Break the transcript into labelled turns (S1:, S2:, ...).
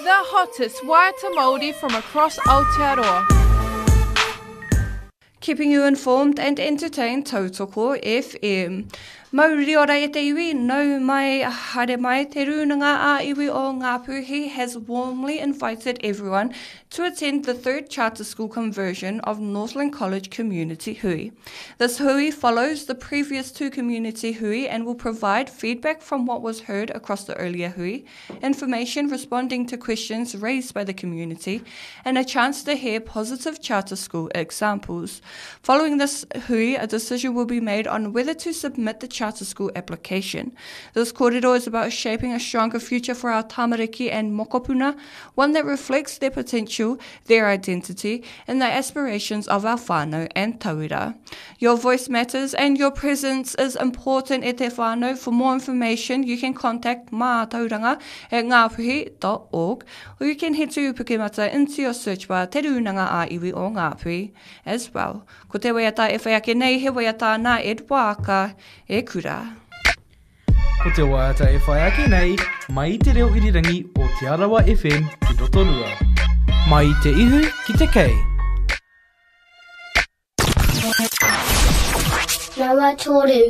S1: The hottest waiata Māori from across Aotearoa.
S2: Keeping you informed and entertained Tautoko FM. Mauri ora e te iwi, nau mai, haere mai, Te Rūnanga a Iwi o Ngāpuhi has warmly invited everyone to attend the third charter school conversion of Northland College Community Hui. This hui follows the previous two community hui and will provide feedback from what was heard across the earlier hui, information responding to questions raised by the community, and a chance to hear positive charter school examples. Following this hui, a decision will be made on whether to submit the charter school application. This kōrero is about shaping a stronger future for our tamariki and mokopuna, one that reflects their potential, their identity, and the aspirations of our whānau and tauira. Your voice matters and your presence is important e te whānau. For more information, you can contact mātauranga at ngāpuhi.org or you can head to Pukemata into your search bar Te Rūnanga a Iwi o Ngāpuhi as well. Ko te waiata e whai ake nei he waiata nā Ed Waaka e kura.
S3: Ko te waiata e whai ake nei, mai i te reo irirangi o Te Arawa FM ki Rotorua. Mai i te ihu ki te kei.
S4: Rawa Toru.